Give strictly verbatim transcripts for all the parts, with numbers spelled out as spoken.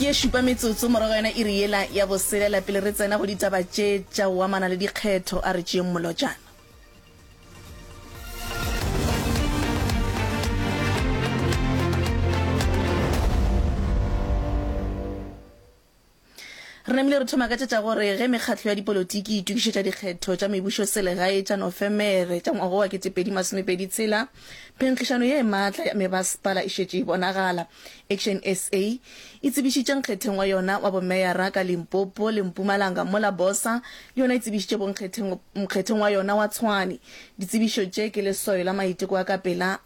Ke ye šupa metsotso morago yona iri yela ya boselela pele re tsena go ditaba tše tša go amana le dikgetho a re tšeeng molotšana. Re namile re thoma ka tše tša gore ge mekgatlo ya dipolotiki e itokišetša dikgetho tša mebušoselegae tša Nofemere tša ngwaga wa kete pedi masomepedi tshela, phenkgišano ye maatla ya mebasepala e šetše e bonagala. Action S A e tsebišitše nkgetheng wa yona wa bomeyara ka Limpopo le Mpumalanga mola BOSA le yona e tsebišitše bonkgetheng nkgetheng wa yona wa Tshwane. Ditsebišo tše ke leswayo la maiteko a ka pela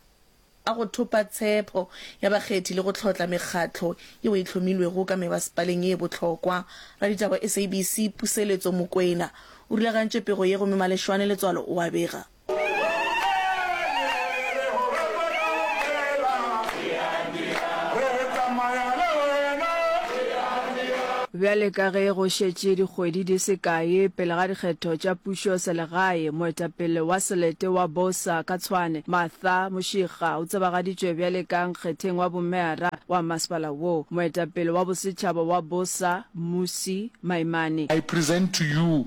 a go thopa tshepho ya bakgethi le go hlotla mekgatlo yeo e hlomilwego ka mebasepaleng ye bohlokwa. Raditaba S A B C Puseletso Mokwena o rulagantše pego ye gomme Maleshwane Letswalo o a bega. Bjale ka ge go šetše dikgwedi di se kae pele ga dikgetho tša pušo selegae, moetapele wa selete wa BOSA ka Tshwane, Martha Moshiga o tsebagaditšwe bjale ka nkgetheng wa bomeyara wa masepala wo. Moetapele wa bosetšhaba wa BOSA, Mmusi Maimane, I present to you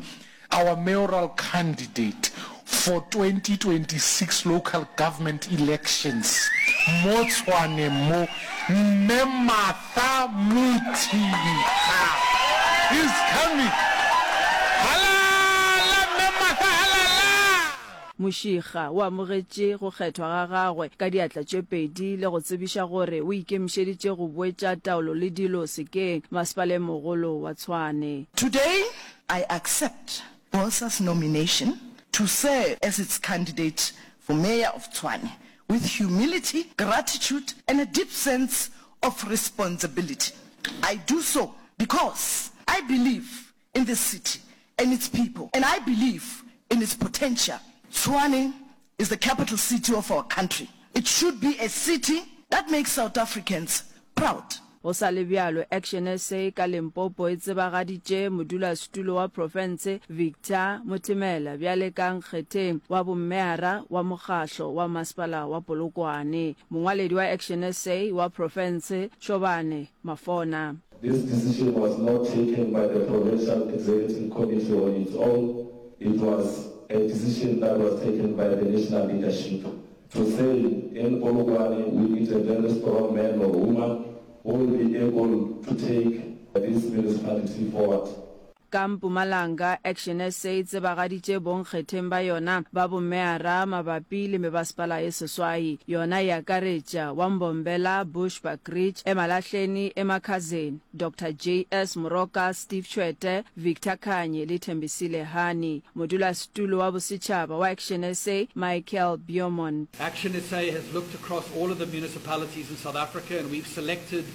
our mayoral candidate for twenty twenty-six local government elections mo Tshwane mo, Mme Martha Mothinkga is coming. Halala Mme Martha, halala! Moshiga o amogetše go kgethwa ga gagwe ka diatla tše pedi le go tsebiša gore o ikemišeditše go boetša taolo le dilo sekeng masepaleng mogolo wa Tshwane. Today I accept BOSA's nomination to serve as its candidate for Mayor of Tshwane with humility, gratitude and a deep sense of responsibility. I do so because I believe in this city and its people, and I believe in its potential. Tshwane is the capital city of our country. It should be a city that makes South Africans proud. Go sa le bjalo, Action S A ka Limpopo e tsebagaditše modulasetulo wa profense Victor Mothemela bjale ka nkgetheng wa bomeyara wa mokgahlo wa masepala wa Polokwane. Mongwaledi wa Action S A wa profense Shobane Mafona. This decision was not taken by the Provincial Executive Committee on its own. It was a decision that was taken by the national leadership to say in Polokwane we need a very strong man or woman who will be able to take this municipality forward. Ka Mpumalanga, Action S A e tsebagaditše bonkgetheng ba yona ba bomeyara mabapi le mebasepala e seswai. Yona e akaretša wa Mbombela, Bushbuckridge, Emalahleni, Emakhazeni, Doctor J S Moroka, Steve Tshwete, Victor Khanye le Thembisile Hani. Modulasetulo wa bosetšhaba wa Action S A, Michael Beaumont. Action S A has looked across all of the municipalities in South Africa and we've selected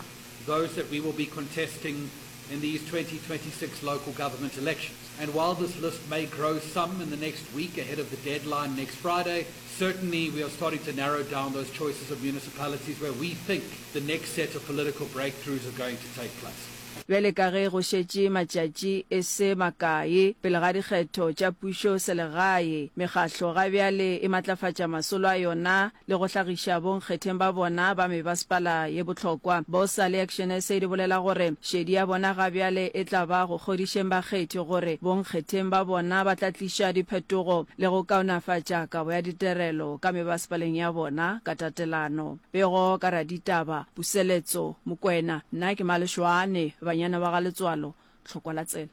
those that we will be contesting in these twenty twenty-six local government elections. And while this list may grow some in the next week ahead of the deadline next Friday, certainly we are starting to narrow down those choices of municipalities where we think the next set of political breakthroughs are going to take place. Bjale ka ge go šetše matšatši e se makae pele ga dikgetho tša pušo selegae, mekgahlo ga bjale e matlafatša masolo a yona le go hlagiša bonkgetheng ba bona ba mebasepala ye bohlokwa. BOSA le Action S A di bolela gore šedi ya bona ga bjale e tla ba go kgodišeng bakgethi gore bonkgetheng ba bona ba tla tliša diphetogo le go kaonafatša kabo ya ditirelo ka mebasepaleng ya bona ka tatelano. Pego ka raditaba Puseletso Mokwena, nna ke Maleshwane, banyana ba ga Letswalo, Tlhokwa la tsela.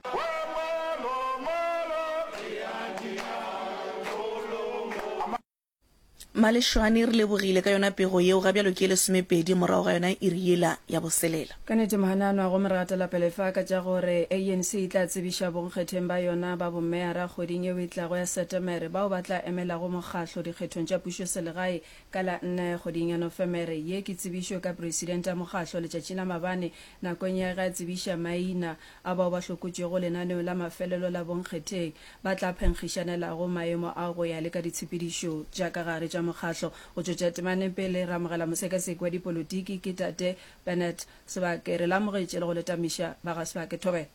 Maleshwane, re lebogile ka yona pego yeo. Ga bjalo ke lesomepedi morago ga yona iri yela ya boselela. Ka nnete mohananwa, gomme re gatela pele fa ka tša gore A N C e tla tsebiša bonkgetheng ba yona ba bomeyara kgweding yeo e tlago ya Setemere bao ba tla emelago mokgahlo dikgethong tša pušoselegae ka la nne kgweding ya Nofemere. Ye ke tsebišo ka presidente ya mokgahlo letšatši la mabane nakong ya ge a tsebiša maina a bao ba hlokotšwego lenaneong la mafelelo la bonkgetheng ba tla phenkgišanelago maemo ao go ya le ka ditshepedišo tša ka gare tša mokgahlo. Go tšwetša temaneng pele re amogela mosekaseki wa dipolotiki ke tate Bernard Sebake. Re le amogetše le go le tamiša ba ga Sebake. Thobela.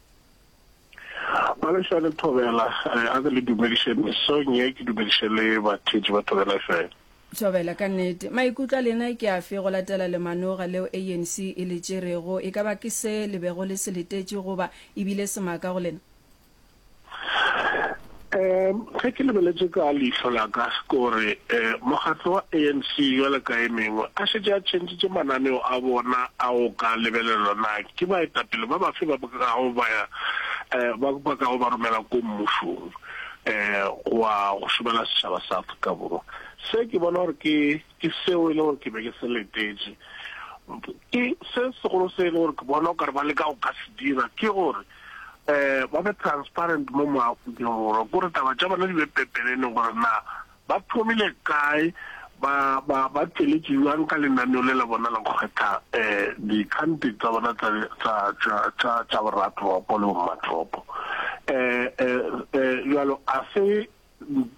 Malešwa le Thobela, a ke le dumediše mesong ye, ke dumediše le batheetši ba Thobela F M. Thobela, ka nnete. Maikutlo a lena ke afe go latela lemanoga leo A N C e le tšerego? E ka ba ke se le bego le se letetše goba e bile semaka go lena? Um ge ke lebeletše ka leihlo la ka, ke gore um mokgatlo wa A N C bjalo ka e mengwe a šetše a tšhentšitše mananeo a bona a go ka lebelelwa na ke baetapele ba bafe ba kago ba um ba ba kago ba romela ko mmušong um go wa go šomela setšhaba sa Afrika Borwa. Se ke bona gore ke ke seo e le gore ke be ke se letetše. Ke se segolo se e le gore ke bona o kare ba leka go ka se dira ke gore um ba be transparent mo mo Afrika Borwa, kore taba tša bona di be pepeneneng gore na ba thomile kae, ba ba ba tšweletše bjang ka lenaneo le la bona la go kgetha um di-candidate tsa bona tsa tsa tša tša tša boratoropo le bommatoropo. Um um um bjalo a se um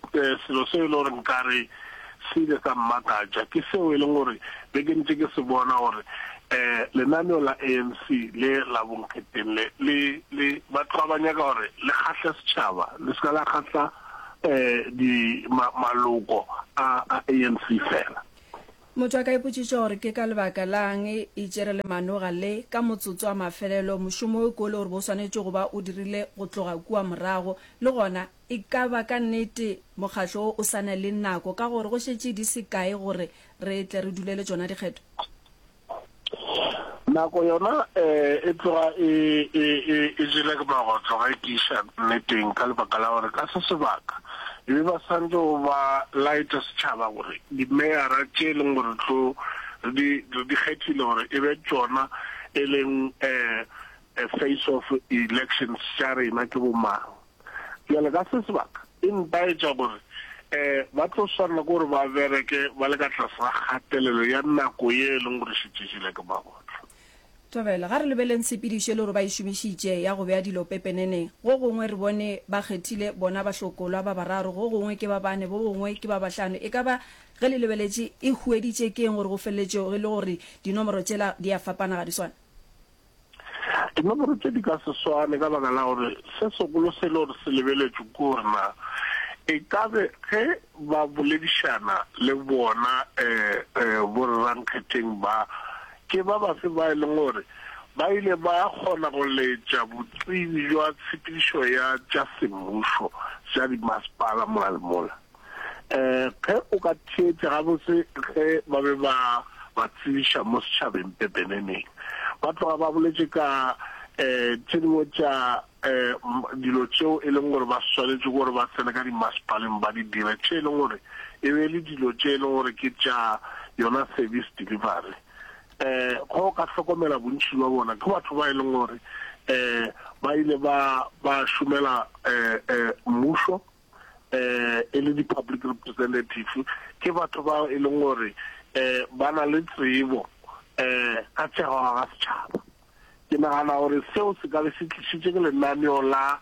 selo seo e le gore nkare se ile sa mmakatša, ke seo e leng gore be ke ntše ke se bona gore um lenaneo la A N C le la bonkgetheng le le le ba tloga ba nyaka gore le kgahle setšhaba, le se ka la kgahla um di ma, maloko a a A N C fela. Motho a ka ipotšiša gore ke ka lebaka lang e tšere lemanoga le ka motsotso wa mafelelo, mošomo o ko le gore bo swanetše go ba o dirile go tloga kua morago. Le gona e ka ba ka nnete mokgatlo wo o sa na le nako ka gore go šetše di se kae gore re tle re dulele tšona dikgetho? Nako yona um e tloga e e e e jele ke magotlo ge ke iša nneteng, ka lebaka la gore ka se sebaka e be ba santse go ba laetša setšhaba gore dimeyara tše e leng gore tlo re di re di kgethile gore e be tšona e leng um face of elections tša rena ke bomang. Bjale ka se sebaka e ntaetša gore um ba tlo swanela ke gore ba bereke ba le ka tlase ga kgatelelo ya nako ye e leng gore šetše jele ke magotlo. Thobela, ga re lebeleng tshepedišo e le gore ba e šomišitše ya go bea dilo pepeneneng. Go gongwe re bone ba kgethile bona bahlokolwa ba bararo, go gongwe ke ba bane, bo gongwe ke ba bahlano. E ka ba ge le lebeletše e hueditše ke eng gore go feleletše e le gore dinomoro tšela di a fapana, ga di swane? Dinomoro tše di ka se swane ka baka la gore se segolo se le gore se lebeletšwe ke gore na e ka be ge ba boledišana le bona um um borrankgetheng ba ke ba bafe ba e leng gore ba ile ba kgona go letša botsebi jwa tshepedišo ya tša semmušo tša dimasepala mola le mola. Um ge o ka theetša gabotse ge ba be ba ba tsebiša mo setšhabeng pepeneneng, ba tloga ba boletše ka um tše dingwe tša um dilo tšeo e leng gore ba swanetše gore ba tsene ka dimasepaleng ba di dire, tše e leng gore e be le dilo tše e leng gore ke tša yona service delivery. Um go ka hlokomela bontši bja bona ke batho ba e leng gore um ba ile ba ba šomela um um mmušo um e le di-public representative, ke batho ba e leng gore um ba na le tsebo um ka tša go aga setšhaba. Ke nagana gore seo se ka be se tlišitše ke lenaneo la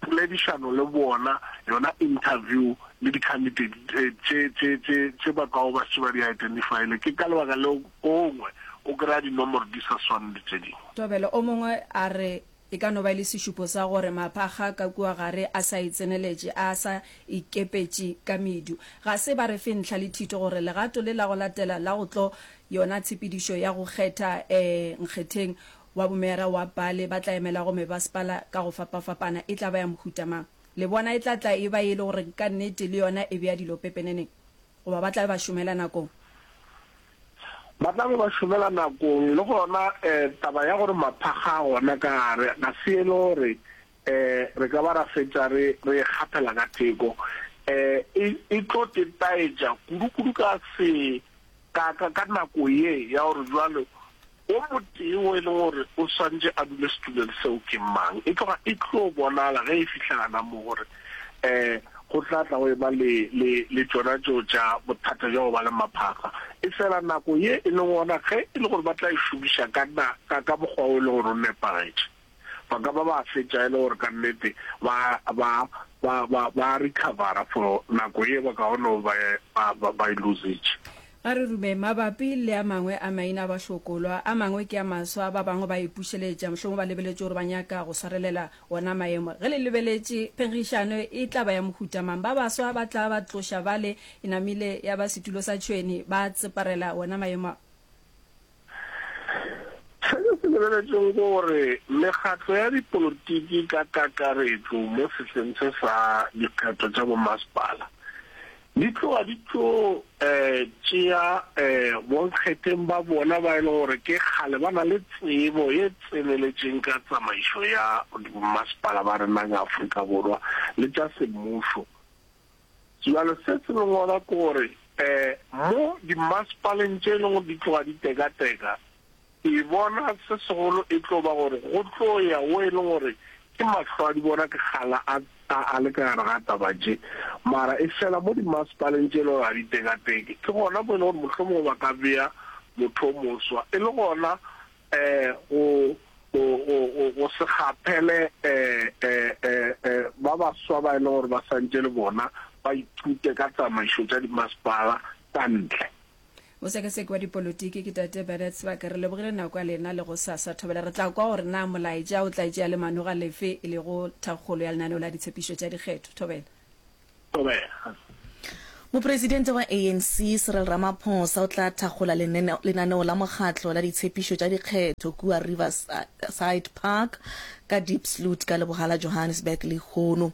poledišano le bona, yona interview le di-candidate tše tše tše tše ba kago ba šetše ba di identifyle. Ke ka lebaka leo gongwe o kry-a dinomoro di sa swane le tše dingwe. Thobela, o mongwe a re e ka no ba e le sešupo sa gore maphakga ka kua gare a sa itseneletše, a sa ikepetše ka medu. Ga se ba re fe ntlha le thito gore legato le la go latela la go tlo yona tshepedišo ya go kgetha um nkgetheng wa bomeyara wa pale ba tla emelago mebasepala ka go fapafapana e tla ba ya mohuta mang. Le bona e tla tla e ba e le gore ka nnete le yona e bea dilo pepeneneng, goba ba tla be ba šomela nakong? Ba tla be ba šomela nakong. Le gona um taba ya gore maphakga a gona ka gare ga se e le gore um re ka ba ra fetša re re e kgaphela ka theko, um e e tlo tetaetša kudu-kudu ka se ka ka ka nako ye ya gore jwale o motee o e leng gore o swantše a dule setulong seo ke mang. E tloga e tlo bonala ge e fihla gana mo gore um go tla tla go eba le le le tšona tšeo tša bothata bja go ba le maphakga. E fela nako ye e leng gona ge e le gore ba tla e šomiša ka na ka ka mokgwa o e leng gore o nepagetše, ba ka ba ba fetša e le gore ka nnete ba ba ba ba ba recovera for nako ye ba kaone ba ba ba e lositše. A re rume mabapi le a mangwe a maina a bahlokolwa, a mangwe ke a maswa, ba bangwe ba ipušeletša, mohlomongwe ba lebeletše gore ba nyaka go swarelela wona maemo. Ge le lebeletše, phenkgišano e tla ba ya mohuta mang? Ba baswa ba tla ba tloša bale e namile ya ba setulo sa tšhwene, ba tseparela wona maemo a. Se ke se lebeletšego ke gore mekgatlo ya dipolotiki ka kakaretšo mo sehleng se sa dikgetho tša bomasepala di tloga di tlo tšea bonkgetheng ba bona ba e le gore ke kgale ba na le tsebo ye tseneletšeng ka tsamaišo ya bomasepala ba rena ka Afrika Borwa le tša semmušo. Bjale se se leng gona ke gore mo dimasepaleng tše e leng gore di tloga di tekateka, ke bona se segolo e tlo ba gore go tlo ya wo e leng gore ke mahlo a di bona ke kgala a a le ka gare ga taba tše. Mara e fela mo dimasepaleng tše e leng gore ga di tekateke, ke gona mo e leng gore mohlomongwe ba ka bea motho o moswa e le gona go go go go go se kgaphele ba baswa ba e leng gore ba santše le bona ba ithute ka tsamaišo tša dimasepala ka ntle. Mosekaseki wa dipolotiki ke Tate Bernard Sebaka. Re lebogile nako ya lena le gosasa. Thobela re tla kwa gore na molaetša o tla tšea le manoga lefe e lego thakgolo ya lenaneo la ditshepišo tša dikgetho. Thobela. Thobela. Mopresidente wa A N C Cyril Ramaphosa o tla thakgola lenaneo la mokgatlo la ditshepišo tša dikgetho kua Riverside Park ka Diepsloot ka leboga la Johannesburg lehono.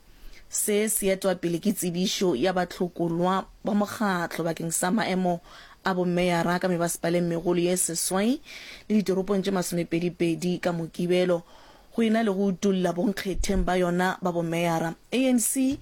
Se se etwa pele ke tsebišo ya bahlokolwa ba mokgatlo bakeng sa maemo a bomeyara ka mebasepaleng megolo ye seswai le ditoropong tše masomepedi-pedi ka Mokibelo. Go e na le go utolla bonkgetheng ba yona ba bomeyara, A N C e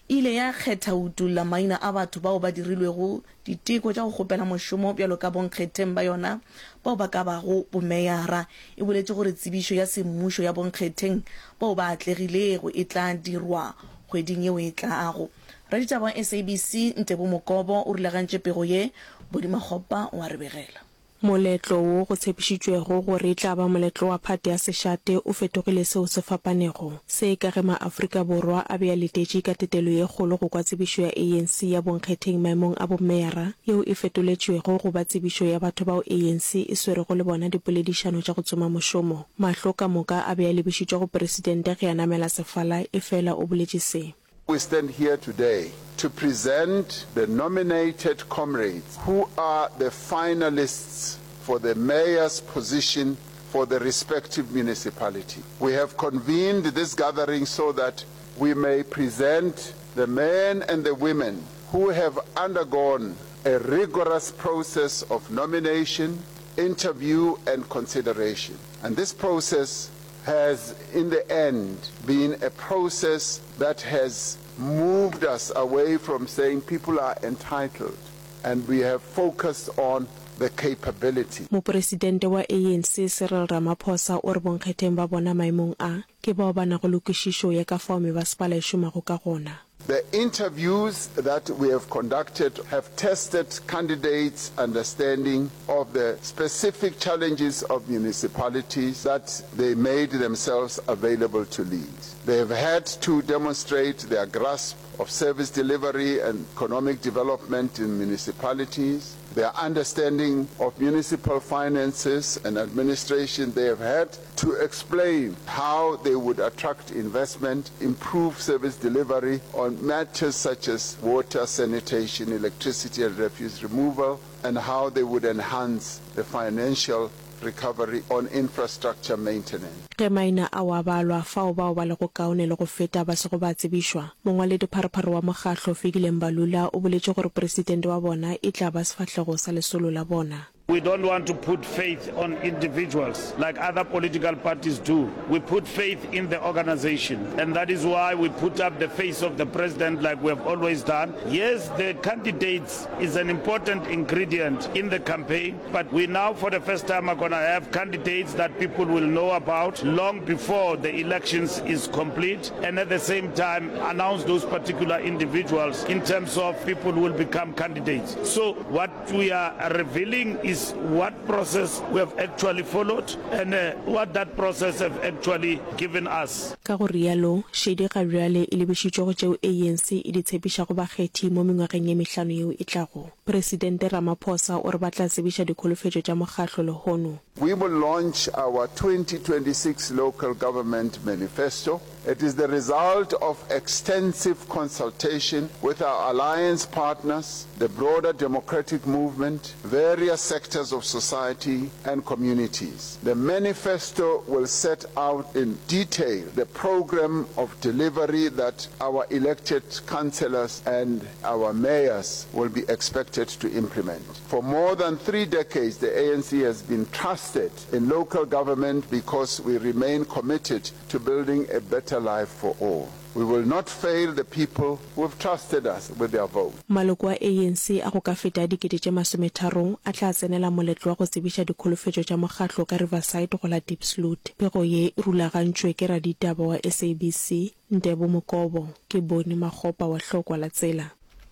ile ya kgetha go utolla maina a batho bao ba dirilwego diteko tša go kgopela mošomo bjalo ka bonkgetheng ba yona bao ba ka bago bomeyara. E boletše gore tsebišo ya semmušo ya bonkgetheng bao ba atlegilego e tla dirwa kgweding yeo e tlago. Raditaba wa S A B C Ntebo Mokobo o rulagantše pego ye, Bodi Makgopa o a re begela. Moletlo wo go tshepišitšwego gore e tla ba moletlo wa phate ya sešate o fetogile seo se fapanego. Se ka ge maAfrika Borwa a be a letetše ka tetelo ye kgolo go kwa tsebišo ya A N C ya bonkgetheng maemong a bomeyara, yeo e fetoletšwego go ba tsebišo ya batho bao A N C e swerego le bona dipoledišano tša go tsoma mošomo. Mahlo ka moka a be a lebišitšwe go Presidente ge a namela sefala, efela o boletše se. We stand here today to present the nominated comrades who are the finalists for the mayor's position for the respective municipality. We have convened this gathering so that we may present the men and the women who have undergone a rigorous process of nomination, interview and consideration. And this process has in the end been a process that has moved us away from saying people are entitled and we have focused on the capability. Mopresidente wa A N C Cyril Ramaphosa o re bonkgetheng ba bona maemong a, ke bao ba nago le kwešišo ya ka fao mebasepala e šomago ka gona. The interviews that we have conducted have tested candidates' understanding of the specific challenges of municipalities that they made themselves available to lead. They have had to demonstrate their grasp of service delivery and economic development in municipalities, their understanding of municipal finances and administration. They have had to explain how they would attract investment, improve service delivery on matters such as water, sanitation, electricity and refuse removal, and how they would enhance the financial recovery on infrastructure maintenance. Ge maina ao a balwa, fao bao ba lego kaone le go feta ba sego ba tsebišwa, mongwaledipharephare wa mokgatlo Fikile Mbalula o boletše gore presidente wa bona e tla ba sefahlego sa lesolo la bona. We don't want to put faith on individuals like other political parties do. We put faith in the organization, and that is why we put up the face of the president like we have always done. Yes, the candidates is an important ingredient in the campaign, but we now for the first time are gonna have candidates that people will know about long before the elections is complete, and at the same time announce those particular individuals in terms of people who will become candidates. So what we are revealing is is what process we have actually followed and what that process have actually given us. Ka go realo, šedi ga bjale e lebišitšwe go tšeo ANC e di tshepišago bakgethi mo mengwageng ye mehlano yeo e tlago. Presidente Ramaphosa o re ba tla tsebiša dikholofetšo tša mokgahlo lehono. We will launch our twenty twenty-six Local Government Manifesto. It is the result of extensive consultation with our alliance partners, the broader democratic movement, various sectors of society and communities. The manifesto will set out in detail the program of delivery that our elected councillors and our mayors will be expected to implement. For more than three decades, the A N C has been trusted in local government because we remain committed to building a better life for all. We will not fail the people who have trusted us with their vote. Maloko a A N C a go ka feta a dikete tše masometharo a tla tsenela moletlo wa go tsebiša dikholofetšo tša mokgatlo ka Riverside go la Diepsloot. Pego ye e rulagantšwe ke raditaba wa S A B C, Ntebo Mokobo. Ke Boni Makgopa wa Hlokwa la Tsela.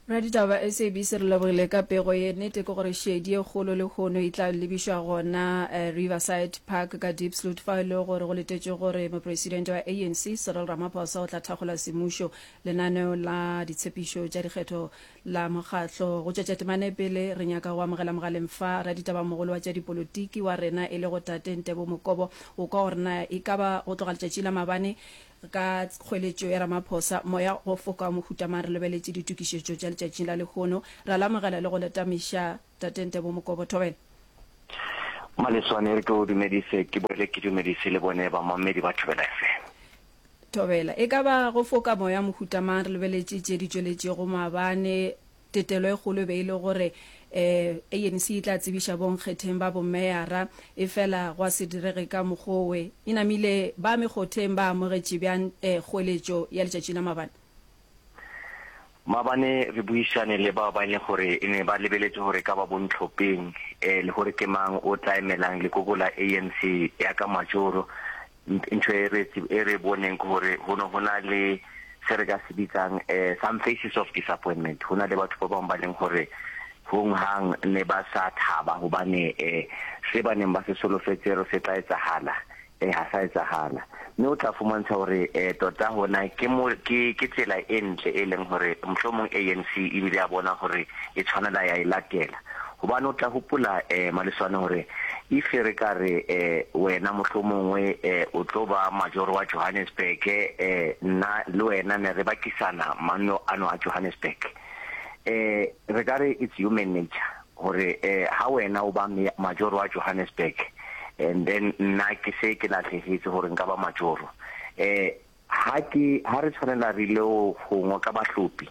Raditaba ba S A B C re lebogile ka pego ye. Nnete ke gore šedi ye kgolo lehono e tla lebišwa gona Riverside Park ka Diepsloot fao e lego gore go letetšwe gore mopresidente wa A N C Cyril Ramaphosa o tla thakgola semmušo lenaneo la ditshepišo tša dikgetho la mokgatlo. Go tšwetša temana e pele re nyaka go amogela mogaleng fa raditabamogolo wa tša dipolotiki wa rena e lego Tate Ntebo Mokobo o kwa gore na e ka ba go tloga letšatši la maabane ka kgoeletšo ya Ramaphosa, moya go foka wa mohuta mang re lebeletše ditokišetšo tša letšatšing la lehono. Ra le amogela le go le tamiša Tate Ntebo Mokobo. Thobela. Maleswane, re ke o dumedise, ke boele ke dumedise le bone bamamedi ba Thobela F M. Thobela. E ka ba go foka moya mohuta mang re lebeletše tše di tšweletšego maabane. Tetelo e kgolo e be e le gore A N C e tla tsebiša bonkgetheng ba bomeyara, efela gwa se direge ka mokgwa owe. E namile ba mekgotheng ba amogetše bjang kgoeletšo ya letšatši la maabane? Maabane re buišane le bao ba e leng gore e ne ba lebeletše gore e ka ba bontlhopheng, le gore ke mang o tla emelang lekoko la A N C ya ka majoro. Ntho e re, e re boneng ke gore go ne go na le se re ka se bitsang, eh, some faces of disappointment. Go na le batho ba bangwe ba leng gore hong hang ne ba sa thaba hobane, eh, se ba neng ba se solofetse re se tla etsahala, eh, ha sa etsahala. Mme o tla fumantsha hore, eh, tota hona ke mo, ke, ke tsela e ntle e leng hore mohlomong A N C ebile ya bona hore e tshwanela ya e latela. Hobane o tla hopola, eh, Maleswane hore if re ka re, eh, wena mohlomongwe, eh, o tlo ba majoro wa Johannesburg, eh, nna le wena ne re bakisana manno ano a Johannesburg. Eh, re ka re it's human nature hore, eh, ha wena o ba majoro wa Johannesburg and then nna ke se ke lahlehetse hore nka ba majoro. Eh, ha ke, ha re tshwanela re ile ho ngoka bahlopi,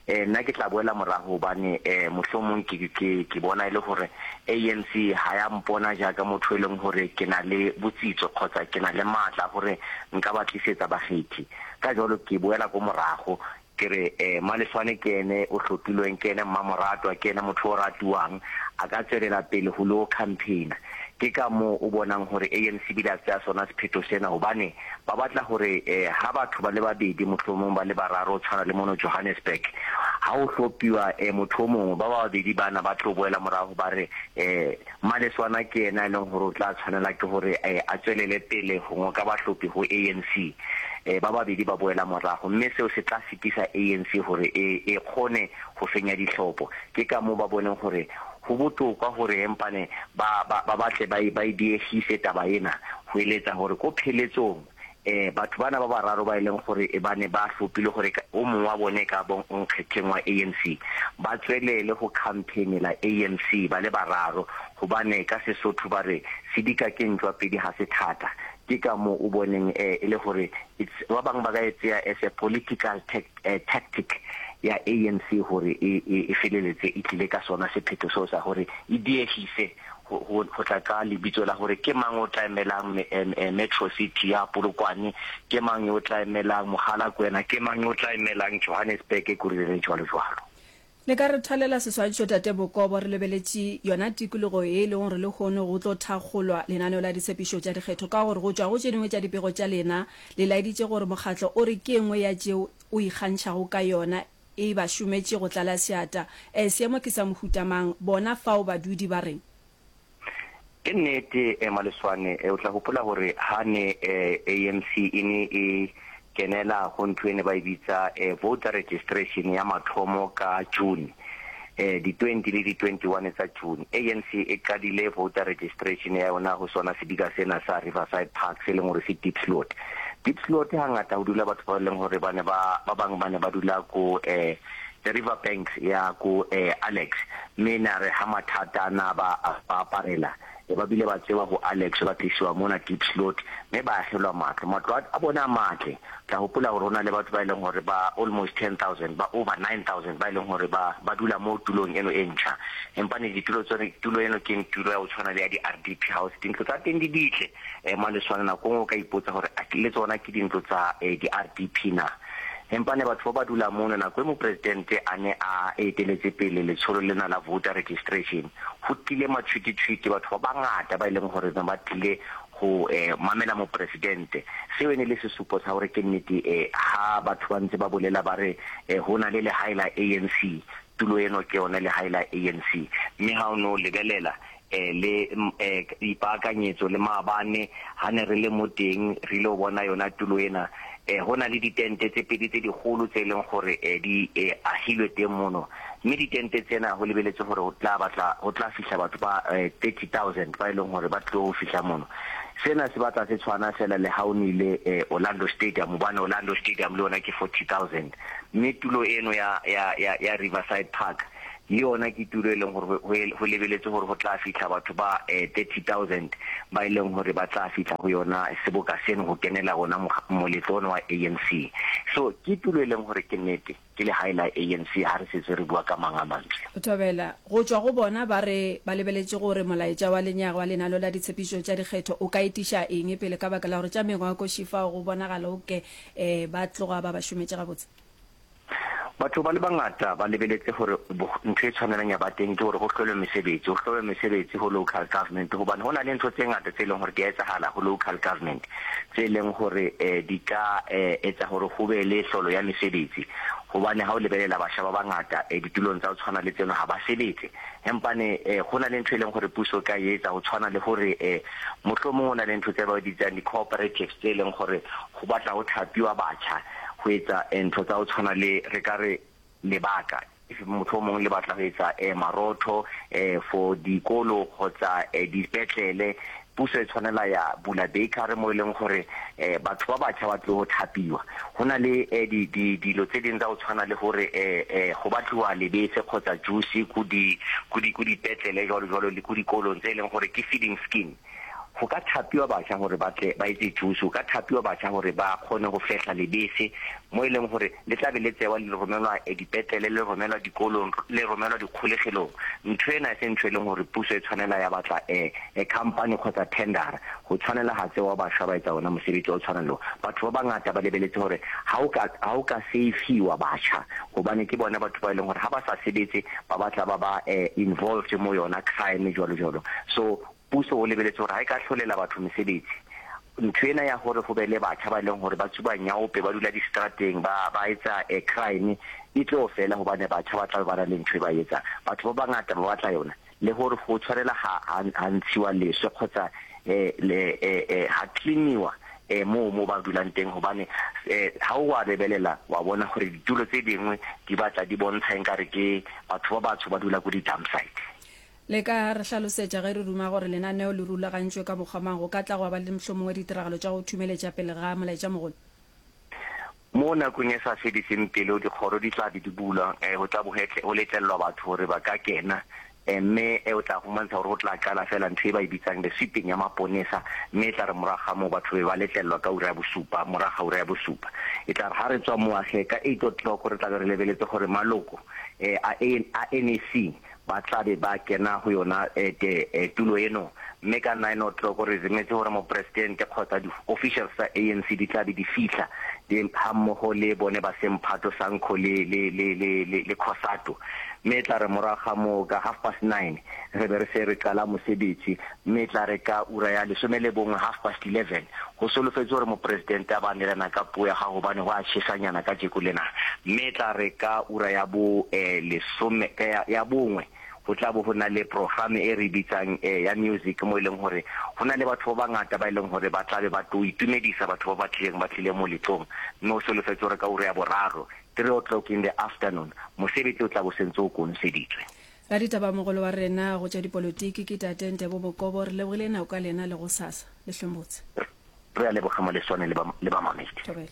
eh, nna ke tla boela morago hobane, eh, mohlomong ke, ke, ke bona e le hore A N C ha ya mpona jaaka motho e leng hore ke na le botsitso kgotsa ke na le matla hore nka ba tlisetsa bakgethi. Ka jalo ke boela ko morago ke re, eh, Maleswane ke ene o hlopilweng, ke ene mmamoratwa, ke ene motho o ratuwang, a ka tswelela pele ho lo campaigner. Ke ka moo o bonang hore A N C bile a tseya sona sephetho sena, hobane ba batla hore, eh, ha batho ba le babedi mohlomong ba le bararo tshwana le mono Johannesburg, ha o hlopiwa, eh, motho o mongwe, ba babedi bana ba tlo boela morago ba re, eh, Maleswana ke yena e leng hore o tla tshwanela ke hore, eh, a tswelele pele ho ngoka bahlopi ho A N C. Eh, ba babedi ba boela morago, mme seo se tla sitisa A N C hore e, e kgone ho fenya dihlopo. Ke ka moo ba boneng hore ho bohlokwa hore empane ba, ba, ba batle ba e, ba e diegise taba ena, ho eletsa hore ko pheletsong, eh, batho bana ba bararo ba e leng gore e ba ne ba hlopile gore ka, o mongwe wa bone ka bo nkgetheng wa A N C, ba tswelele ho campaignela A N C ba le bararo, hobane ka Sesotho ba re sedika ke ntšwa pedi ha se thata. Ke ka moo o boneng, eh, e le gore it's, ba bangwe ba ka e tseya as a political tec-, eh, tactic ya A N C gore e, e, e feleletse e tlile ka sona sephetho seo sa gore e diegise go, go, go tla ka lebitso la gore ke mang o tla emelang me-, em, em, Metro City ya Polokwane, ke mang yo o tla emelang Mogalakwena, ke mang yo o tla emelang Johannesburg, Ekurhuleni, jwalo jwalo. Le ka re thalela seswantšho Tate Bokobo, re lebeletše yona tikologo ye e lego gore lehono go tlo thakgolwa lenaneo la ditshepišo tša dikgetho, ka gore go tšwa go tše dingwe tša dipego tša lena le laeditše gore mokgatlo o re ke e nngwe ya tšeo o ikgantšhago ka yona e ba šometše go tlala seata. E, seemo ke sa mohuta mang? Bona fao badudi ba reng? Ke nnete Maleswane, o tla gopola gore ha ne A N C e ne e kenela go ntho e ne ba e bitsa voter registration ya mathomo ka June, di twenty le di twenty one tsa June, A N C e qadile voter registration ya yona ho sona sedika sena sa Riverside Park se leng gore se Diepsloot. Diepsloot hangata ho dula batho ba leng gore ba ne ba ba bang ba ne ba dula ko eh the river banks ya ko eh Alex, mme na re ha mathata na ba ba aparela e ba bile ba tsewa ho Alex ba tlisiwa mona Diepsloot, mme ba agelwa matlo. Matlo a bona a matle. Tla hopola hore ho na le batho ba e leng hore ba almost ten thousand, ba over nine thousand ba e leng hore ba ba dula mo tulong eno e ntjha. Empa ne ditulo tsone, tulo eno ke tulo ya ho tshwana le ya di-R D P house. Dintlo tsa teng di ditle um Maleswane. Nako nngwe o ka ipotsa hore a le tsona ke dintlo tsa eh, di-R D P na. Empa ne batho ba ba dula mono nako e mopresidente a ne a eteletse pele letsholo lena la voter registration, ho tlile matshwititshwiti, batho ba bangata ba e leng hore ne ba tlile ho eh, mamela mopresidente. Seo e ne le sesupo sa hore ke nnete eh, ha batho ba ntse ba bolela ba re eh, ho na le lehae la A N C, tulo eno ke yone lehae la A N C. Mme ha o no lebelela eh le eh ipaakanyetso le maabane ha ne re le mo teng, re ile go bona yona tulo ena. eh ho na le ditente tse pedi tse dikgolo tse leng gore eh di eh, ahilwe teng mono, mme ditente tsena ho lebeletse hore ho tla batla ho tla fihla batho ba eh, thirty thousand ba e leng hore ba tlo ho fihla mono. Sena se batla se tshwana fela le ha o nile eh, Orlando Stadium, hobane Orlando Stadium le yona ke forty thousand. Mme tulo eno ya ya ya, ya Riverside Park le yona ke tulo e leng gore ho lebeletse gore ho tla fihla batho ba eh, thirty thousand ba e leng hore ba tla fihla ho yona seboka seno ho kenela ona moletlo ono wa A N C. So ke tulo e leng hore ke nnete ke lehae la A N C ha re setse re bua ka mang a mantswe. Thobela, go tšwa go bona ba re ba lebeletše gore molaetša wa lenyaga wa lenaneo la ditshepišo tša dikgetho o ka etiša eng pele, ka baka la gore tša mengwakoši fao go bonagala o ke um ba tloga ba ba šometše gabotse? Batho ba le bangata ba lebeletse gore ntho e tshwanelang ya ba teng ke gore go hlolwe mesebetsi, ho hlolwe mesebetsi ho local government, hobane ho na le ntho tse ngata tse leng hore di a etsahala ho local government tse leng hore um di ka um etsa hore ho be le hlolo ya mesebetsi, hobane ha o lebelela batjha ba bangata um ditulong tsa ho tshwana le tseno ha ba sebetse. Empane um go na le ntho e leng gore puso ka e etsa ho tshwana le hore um mohlomong ho na le ntho tse ba di bitsang di-cooperatives tse leng gore go batla ho thapiwa batjha ho etsa ntho tsa ho tshwana le re ka re lebaka if motho o mongwe le batla ho etsa eh, marotho eh, for dikolo kgotsa eh, dipetlele, puso e tshwanela ya bula bakery mo e leng gore eh, batho ba batjha ba tlo ho thapiwa. Ho na le eh, di, di, dilo tse ding tsa ho tshwana le hore eh, eh, go batliwa lebese kgotsa juice ko di ko di ko dipetlele jwalo jwalo le ko dikolong tse e leng gore ke feeding scheme. Go ka thapiwa batjha gore ba tle ba etse juice, go ka thapiwa batjha gore ba kgone go fehla lebese mo e leng gore le tla be le tsewa le romelwa eh, dipetlele, le romelwa dikolong, le romelwa dikgolegelong. Ntho ena e se ntho e leng gore puso e tshwanela ya batla eh, eh, company kgotsa tendera go tshwanela ga tsewa bašwa ba etsa ona mosebetsi o tshwanang le o. Batho ba bangata ba lebeletse gore ha o ka ha o ka save-iwa batjha, hobane ke bona batho ba e leng gore ha ba sa sebetse ba batla ba ba eh, involved mo yona crime jwalo jwalo. So puso o lebeletse gore ha e ka hlolela batho mesebetsi, ntho ena ya gore go be le batjha ba e leng gore ba tsuba nyaope, ba dula di-strateng, ba ba etsa eh, crime e tlo fela, hobane batjha ba tla be ba na le ntho e ba e etsang. Batho ba bangata ba batla yona le gore go tshwanela ha ha ha ntshiwa leswe kgotsa eh, le eh, eh, ha cleaniwa eh mo mo ba dulang teng, hobane eh ha o wa lebelela wa bona gore ditulo tse dingwe di batla di bontsha enkare ke batho ba batsho ba dula ko di-dump site. Le ka re hlalosetša ge re ruma gore lenaneo le rulagantšwe ka mokgwa mang, go ka tla gwa ba le mohlomongwe ditiragalo tša go thumeletša pele ga molaetša mogolo? Mo nakong e sa fediseng pelo dikgoro di tla be di bulwa, um go tla bo go letlelelwa batho gore ba ka kena, um mme e o tla humantsha gore go tla qala fela ntho e ba e bitsang the sweeping ya maponesa, mme e tla re morago ga moo batho be ba letlelelwa ka ura ya bosupa. Morago ga ura ya bosupa e tla re ga re tswa moage ka eight o'clock re tla be re lebeletse gore maloko um a a N A C ba tla be ba kena go yona eh, te, eh, tulo eno, mme ka nine o'clock re zemetse gore mopresidente kgotsa di-officials tsa A N C di tla be di fitlha di ha mmogo le bone ba semphato SANCO le le le le le, le COSATU, mme e tla re morago ga moo ka half past nine re be re se re qala mosebetsi, mme e tla re ka ura ya lesome le bongwe, half past eleven, go solofetse gore mopresidente a ba neelana ka puo ya gago, gobane go a tšhesanyana ka jeko lena, mme e tla re ka ura ya bo eh, lesome ya, ya bongwe Go tla bo go na le programe e re e bitsang ya music mo e leng gore go na le batho ba bangata ba e leng gore ba tla be ba tlo itumedisa batho ba ba tlileng ba tlile moletlong mme o solofetse gore ka ura ya boraro, three o'clock in the afternoon, mosebetsi o tla bo sentse o konoseditswe. Raditabamogolo wa rena go tša dipolotiki ke Tate Ntebo Bokobo. Re lebogile nako ka lena le gosasa. Le hlweng botse. Re a leboga Maleswane le ba le bamamedi. Thobela.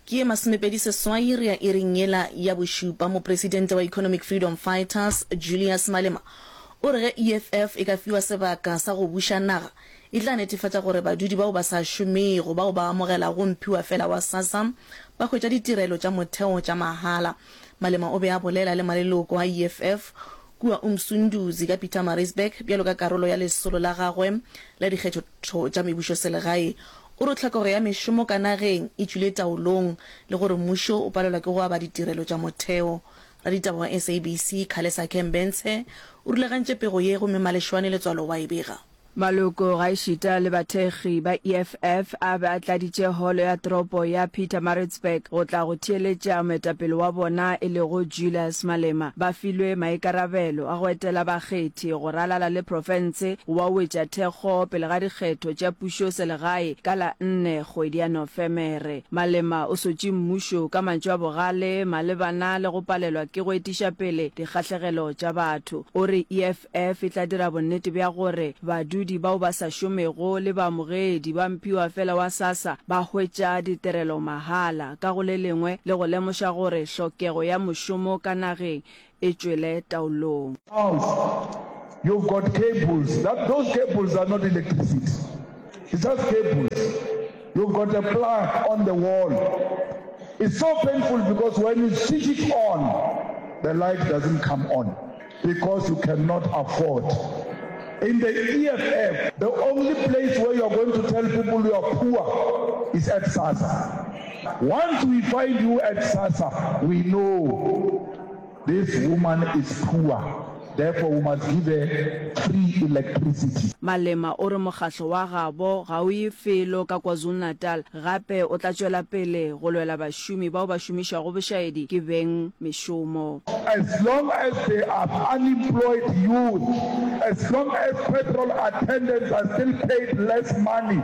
Ke ye masomepedi seswai re ya iring yela ya bošupa. Mopresidente wa Economic Freedom Fighters, Julius Malema, o re ge E F F e ka fiwa sebaka sa go buša naga, e tla netefatša gore badudi bao ba sa šomego bao ba amogelago mphiwafela wa SASSA ba hwetša ditirelo tša motheo tša mahala. Malema o be a bolela le maleloko a E F F kua Umsunduzi ka Pietermaritzburg bjalo ka karolo ya lesolo la gagwe la dikgetho tša mebušoselegae. O re tlhokego ya mešomo ka nageng e tšwile taolong le gore mmušo o palelwa ke go aba ditirelo tša motheo. Raditaba wa S A B C Khalesa Kembentshe o rulagantše pego ye gomme Maleshwane Letswalo wa e bega. Maloko gaešita le bathekgi ba E F F a be a tladitše holo ya toropo ya Pietermaritzburg go tla go theeletša moetapele wa bona e lego Julius Malema. Ba filwe maikarabelo a go etela bakgethi go ralala le profense go ba wetša thekgo pele ga dikgetho tša pušoselegae ka la nne kgwedi ya Nofemere. Malema o sotše mmušo ka mantšu a bogale malebana le go palelwa ke go etiša pele dikgahlegelo tša batho. O re E F F e tla dira bonnete bja gore badudi bao ba sa šomego le baamogedi ba mphiwafela wa SASSA ba hwetša ditirelo mahala, ka go le lengwe le go lemoša gore hlokego ya mošomo ka nageng e tšwele taolong. House, you've got cables, that those cables are not electricity, it's just cables. You've got a plug on the wall. It's so painful because when you switch it on, the light doesn't come on because you cannot afford. In the E F F, the only place where you are going to tell people you are poor is at SASSA. Once we find you at SASSA, we know this woman is poor. Therefore, we must give her free electricity. Malema o re mokgahlo wa gabo ga o ye felo ka KwaZulu-Natal gape o tla tšwela pele go lwela bašomi bao ba šomišwago bošaedi ke beng mešomo. As long as there are unemployed youth, as long as petrol attendants are still paid less money,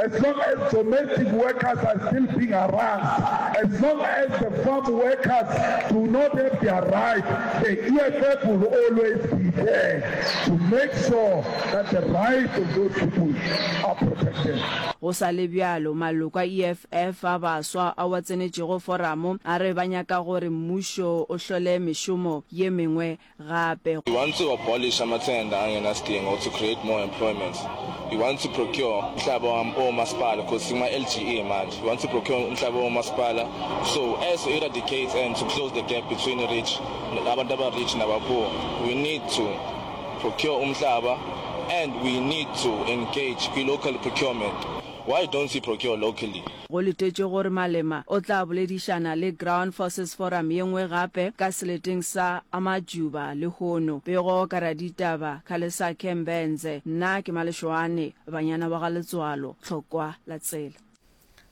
as long as domestic workers are still being harassed, as long as the farm workers do not have their rights, the E F F will always be there to make sure that the rights of those people are protected. Go sa le bjalo, maloko a E F F a baswa ao a tsenetšego foramo a re ba nyaka gore mmušo o hlole mešomo ye mengwe gape. We want to abolish amathenda angenasidingo to create more employment. We want to procure umhlaba womasipala because sikuma-L G E manje. We want to procure umhlaba womasipala so as to eradicate and to close the gap between rich, abantu aba-rich naba-poor. We need to procure umhlaba and we need to engage kwi-local procurement. Why don't we procure locally? Go letetšwe gore Malema o tla boledišana le Ground Forces Forum ye nngwe gape ka seleteng sa Amajuba lehono. Pego ka raditaba Khalesakhe Mbenze. Nna ke Malešoane, banyana ba ga Letswalo, Tlhokwa la tsela.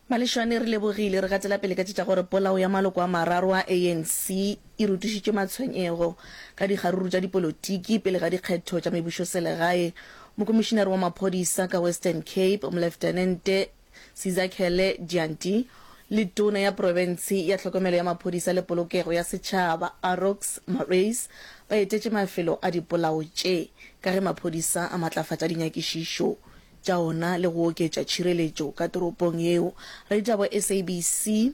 Malešwane re lebogile. Re gatela pele ka tše tša gore polao ya maloko a mararo a A N C e rotošitše matshwenyego ka dikgaruru tša dipolotiki pele ga dikgetho tša mebušoselegae. Mokomišinare wa maphodisa ka Western Cape, Moleftenente Sizakhele Dyanti le Tona ya Profense ya Tlhokomelo ya Maphodisa le Polokego ya Setšhaba Arox Marais ba etetše mafelo a dipolao tše ka ge maphodisa a matlafatša dinyakišišo tša ona le go oketša tšhireletšo ka toropong yeo. Raditaba wa S A B C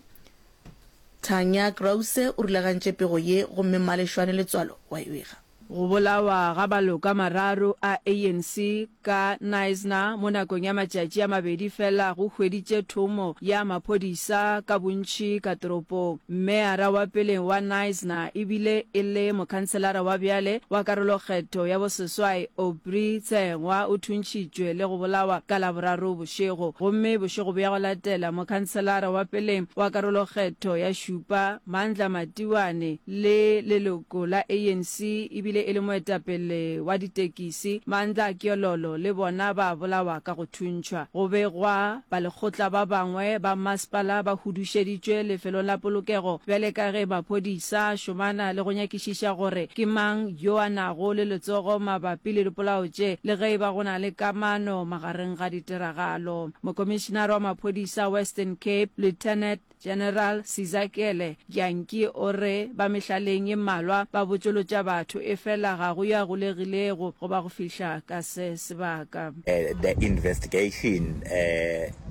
Tanya Krause o rulagantše pego ye gomme Mmalešwane Letswalo wa e bega. Go bolawa ga maloko a mararo a A N C ka Knysna mo nakong ya matšatši a mabedi fela go hweditše thomo ya maphodisa ka bontši ka toropong. Meyara wa peleng wa Knysna ebile e le mokhanselara wa bjale wa karolokgetho ya boseswai Aubrey Tsengwa o thuntšhitšwe le go bolawa ka Laboraro bošego gomme bošego bja go latela mokhanselara wa peleng wa karolokgetho ya šupa Mandla Matiwane le leloko la A N C ebile bile e le moetapele wa ditekisi Mandla Kyololo le bona ba bolawa ka go thuntšhwa. Go begwa balekgotla ba bangwe ba mmasepala ba hudušeditšwe lefelong la polokego bjale ka ge maphodisa a šomana le go nyakišiša gore ke mang yo a nago le letsogo mabapi le dipolao tše le ge e ba go na le kamano magareng ga ditiragalo. Mokomišenare wa maphodisa Western Cape, Lieutenant General Sizakele Dyantyi o re ba mehlaleng ye mmalwa ba botšolotša batho efela ga go yo a golegilego go ba go fihla ka se sebaka. The investigation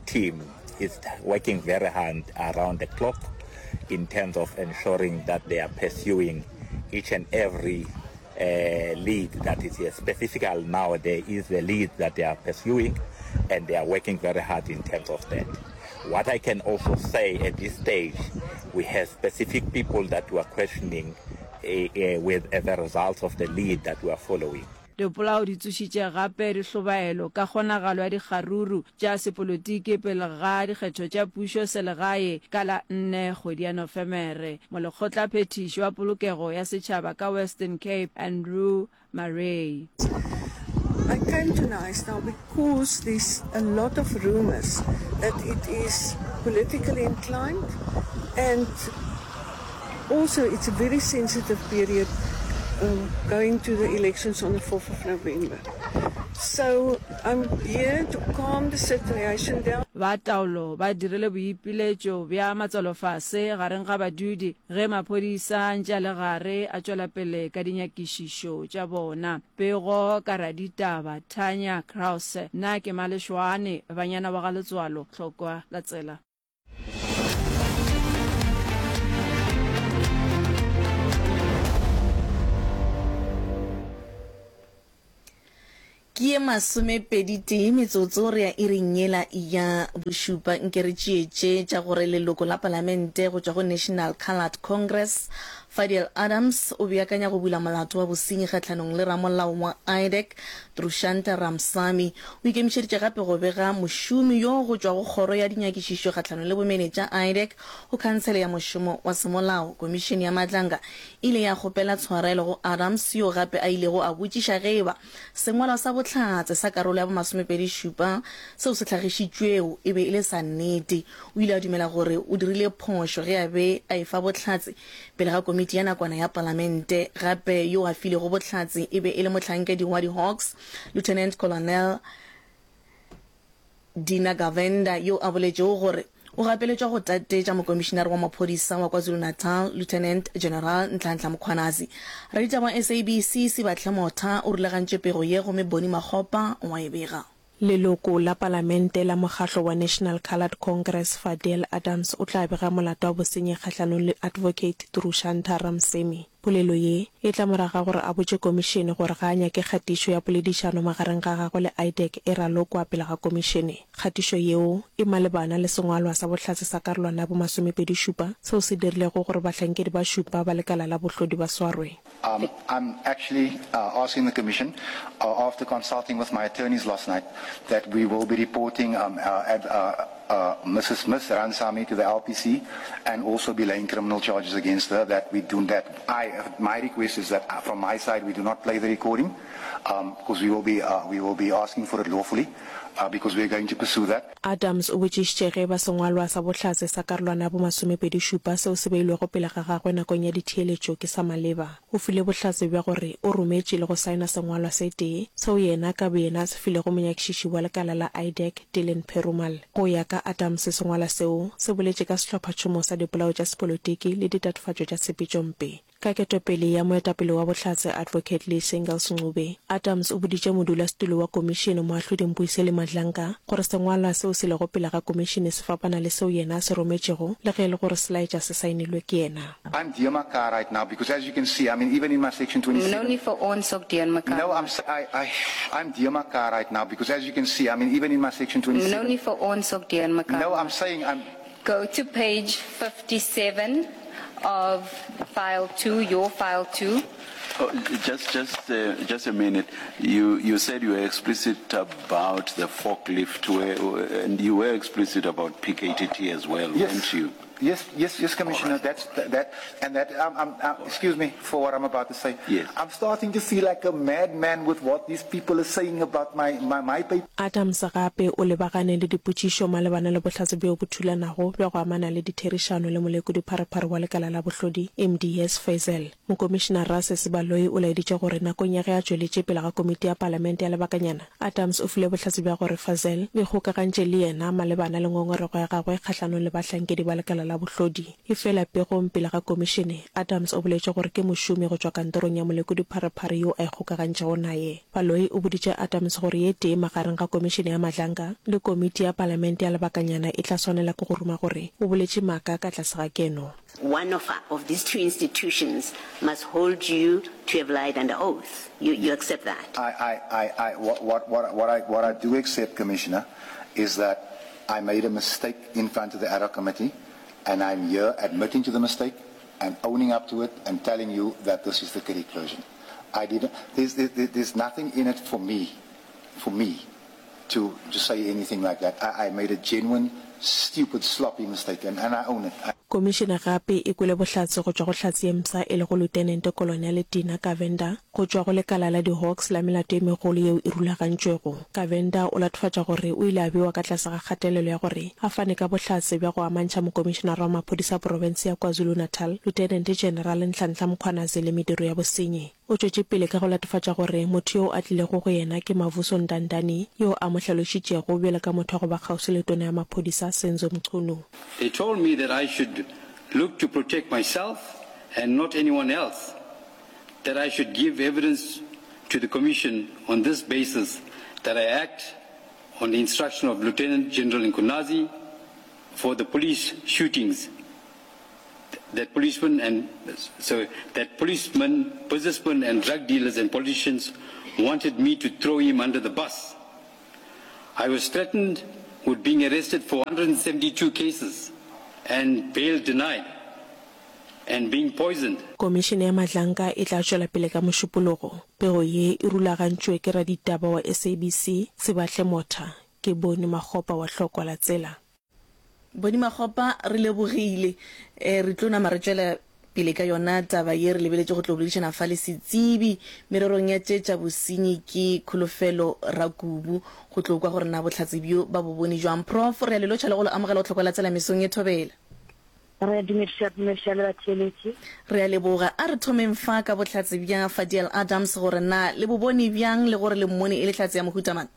team is working very hard around the clock in terms of ensuring that they are pursuing each and every lead that is here. Specifically now there is a lead that they are pursuing and they are working very hard in terms of that. What I can also say at this stage, we have specific people that we are questioning eh, eh, with eh, the results of the lead that we are following. Dipolao di tsošitše gape dihlobaelo ka kgonagalo ya dikgaruru tša sepolotiki pele ga dikgetho tša pušo selegae ka la nne kgwedi ya Nofemere. Molekgotlaphethiši wa polokego ya setšhaba ka Western Cape Andrew Murray. I came to Knysna because there's a lot of rumours that it is politically inclined and also it's a very sensitive period um, going to the elections on the fourth of November. So I'm here to calm the situation down. Ba taolo ba dirile boipiletšo bja matswalofase gareng ga badudi ge maphodisa a ntše a le gare a tšwela pele ka dinyakišišo tša bona. Pego ka raditaba Tanya Krause. Nna ke Malešoane, banyana wa ga Letswalo, Tlokwa la Tsela. Ke ye masomepedi tee metsotso re ya iring yela ya bošupa. Nke re tšee tše tša gore leloko la palamente go tšwa go National Coloured Congress, Fadiel Adams, o beakanya go bula molato wa bosenyi kgahlanong le ramolao wa I D E C, Trushanta Ramsamy. O ikemišeditše gape go bega mošomi yo go tšwa go Kgoro ya Dinyakišišo kgahlanong le Bomenetša, I D E C, go Khansele ya Mošomo wa Semolao. Komišene ya Madlanga e ile ya kgopela tshwarelo go Adams, yo gape a ilego a botšiša ge e ba sengwalwa sa bohlatse sa karolo ya bomasomepedi šupa seo se hlagišitšwego e be e le sa nnete. O ile a dumela gore o dirile phošo ge a be a efa bohlatse pele ga komiti ya nakwana ya palamente. Gape yo a filego bohlatse e be e le mohlankedi wa di-Hawks, Lieutenant Colonel Dina Govender, yo a boletšego gore o gapeletšwa go tatetša mokomišinare wa maphodisa wa KwaZulu-Natal, Lieutenant General Nhlanhla Mkhwanazi. Raditaba wa S A B C Sibahle Motha o rulagantše pego ye gomme Bonnie Makgopa wa e bega. Leloko la Palamente la mokgahlo wa National Coloured Congress Fadiel Adams o tla bega molato wa bosenyi kgahlanong le Advocate Trushantha Ramsamy. Polelo ye e tla morago ga gore a botše komišene gore ga a nyake kgatišo ya poledišano magareng ga gagwe le I D E C e ralokwa pele ga komišene. Kgatišo yeo e malebana le sengwalwa sa bohlatse sa karolwana ya bomasomepedi šupa seo se dirilego gore bahlankedi ba šupa ba lekala la bohlodi ba swarwe. Um, I'm actually uh, asking the Commission, uh, after consulting with my attorneys last night, that we will be reporting um, uh, ad, uh, uh, Missus Miss Ramsamy to the L P C and also be laying criminal charges against her. That we do that. I, my request is that uh, from my side we do not play the recording, because um, we will be uh, we will be asking for it lawfully. Uh, because we are going to pursue that. Adams o botšišitše ge eba sengwalwa sa bohlatse sa karolwana ya bomasomepedi šupa seo se beilwego pele ga gagwe nakong ya ditheeletšo ke sa maleba. O file bohlatse bja gore o rometše le go saena sengwalwa se tee seo yena ka boyena a se filego monyakišiši wa lekala la I D E C Dylan Perumal. Go ya ka Adams, sengwalwa seo se boletše ka sehlophatšhomo sa dipolao tša sepolotiki le ditatofatšo tša tshepetšompe. Ka ketapele ya moetapele wa bohlatse Advocate Lee Singles Ncube, Adams o boditše modulasetulo wa komišene moahlodi Mbuyiseli Madlanga gore sengwalwa seo se lego pele ga komišene se fapana le seo yena a se rometšego le ge e le gore se laetša se saenilwe ke yena. I'm deurmekaar right now because as you can see, I mean, even in my section twenty-seven. No nie vir ons ook deurmekaar. No, I'm, I, I, I'm deurmekaar right now because as you can see, I mean, even in my section twenty-seven. No nie vir ons ook deurmekaar. No, I'm saying I'm. Go to page fifty-seven of file two, your file two. Oh, just, just, Just a, just a minute. You, you said you were explicit about the forklift, where, and you were explicit about P K T T as well, yes. weren't you? Yes, yes, yes, Commissioner. Right. That's th-, that, and that. Um, um, um, All excuse me for what I'm about to say. Yes. I'm starting to feel like a madman with what these people are saying about my, my, my paper. Adams gape o lebagane le dipotšišo malebana le bohlatse bjo bo thulanago bja go amana le ditherišano le molekodi-pharephare wa lekala la bohlodi M D S Fazel. Mokomišenara Sesi Baloyi o laeditše gore nakong ya ge a tšweletše pele ga komiti ya palamente ya lebakanyana, Adams o file bohlatse bja gore Fazel o ikgokagantše le yena malebana le ngongorego ya gagwe kgahlanong le bahlankedi ba lekala la bohlodi. Efela pegong pele ga komišene, Adams o boletše gore ke mošomi go tšwa kantorong ya molekodi-pharephare yo a ikgokagantšego naye. Baloyi o boditše Adams gore ye tee magareng ga komišene ya Madlanga le komiti ya palamente ya lebakanyana e tla swanela ke go ruma gore o boletše maaka ka tlase ga keno. One of, of these two institutions must hold you to have lied under oath. You, you accept that? I, I, I, I, what, what, what, what, I, what I do accept, Commissioner, is that I made a mistake in front of the ad hoc committee, and I'm here admitting to the mistake and owning up to it and telling you that this is the correct version. I didn't, there's, there, there's nothing in it for me, for me to, to say anything like that. I, I made a genuine, stupid, sloppy mistake, and, and I own it. I Komišene gape e kwele bohlatse go tšwa go hlatse ye mpsha e lego Lieutenant Colonel Tina Govender go tšwa go lekala la di-Hawks la melato ye megolo yeo e rulagantšwego. Govender o latofatša gore o ile a bewa ka tlase ga kgatelelo ya gore a fane ka bohlatse bja go amantšha mokomišenara wa maphodisa a profense ya KwaZulu-Natal, Lieutenant General Nhlanhla Mkhwanazi le mediro ya bosenyi. O tšwetše pele ka go latofatša gore motho yo a tlilego go yena ke Mavuso Ndandani, yo a mo hlalošitšego bjalo ka motho wa go ba kgauswi le tona ya maphodisa Senzo Mchunu. They told me that I should look to protect myself and not anyone else, that I should give evidence to the commission on this basis, that I act on the instruction of Lieutenant General Mkhwanazi for the police shootings, that policemen and so that policemen, businessmen and drug dealers and politicians wanted me to throw him under the bus. I was threatened with being arrested for hundred seventy-two cases and bail denied and being poisoned. Komišene ya Madlanga e tla tšwela pele ka mošupologo. Pego ye e rulagantšwe ke raditaba wa S A B C, Sebahle Motha, ke Boni Makgopa wa Hlokwa la Tsela. Boni Makgopa, re lebogile. Eh, re tlo nama re tšwela pele ka yona taba ye re lebeletše go tlo boledišana fa le setsebi mererong ya tše tša bosenyi ke Kholofelo Rakubu go tlo kwa gore na bohlatse bjo ba bo bone jwang. Prof, re a le lotšha le go le amogela go hlokwa la tsela mesong e thobela. Re a dumediša, dumediša le batheeletši. Re a leboga. A re thomeng fa ka bohlatse bja Fadiel Adams gore na le bo bone bjang le gore le mmone e le hlatse ya mohuta mang?